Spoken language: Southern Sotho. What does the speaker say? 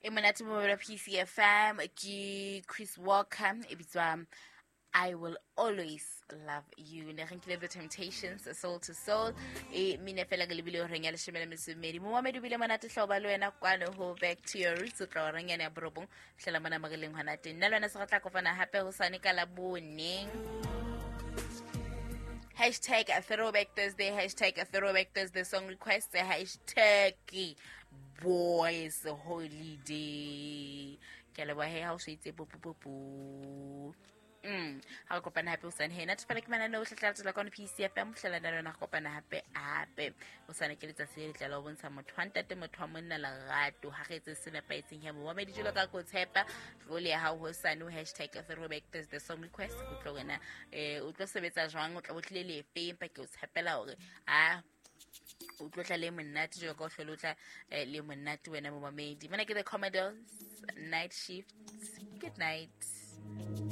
E monate mo PCFM ke Chris Walker e bitswa I Will Always Love You. Ne re nkile The Temptations, Soul to Soul, e mine fela ke lebile horeng ya 12. Momamedi o bile monate hloba le wena kwano ho Back to Your Roots, o tla horeng yane ya 9 fihlela mona mo re leng hona teng. Nna le wena se re tla kopana hape hosane ka Labone. #ThrowbackThursday, #ThrowbackThursday song requests, #BoysHoliday. Ke a leboha he ha o so itse popopopo. Ha re kopana hape hosane he. Natefela ke mananeo ohle tla latela kwano PCFM, hlela nna le wena re kopana hape hape hosane. Ke letsatsi le letle la ho bontsha motho wa ntate, motho wa monna lerato. Ha re etse se nepahetseng he, momamedi, jwalo ka ko tshepa role ya hao hosane o #ThrowbackThursday song request. O tlo wena o tlo sebetsa jwang, o tla bo tlile lefe, empa ke o tshepela hore a o tlo tla le monate jwalo ka o hlole o tla le monate wena momamedi. Mona ke The Commodores, Night Shift. Good night.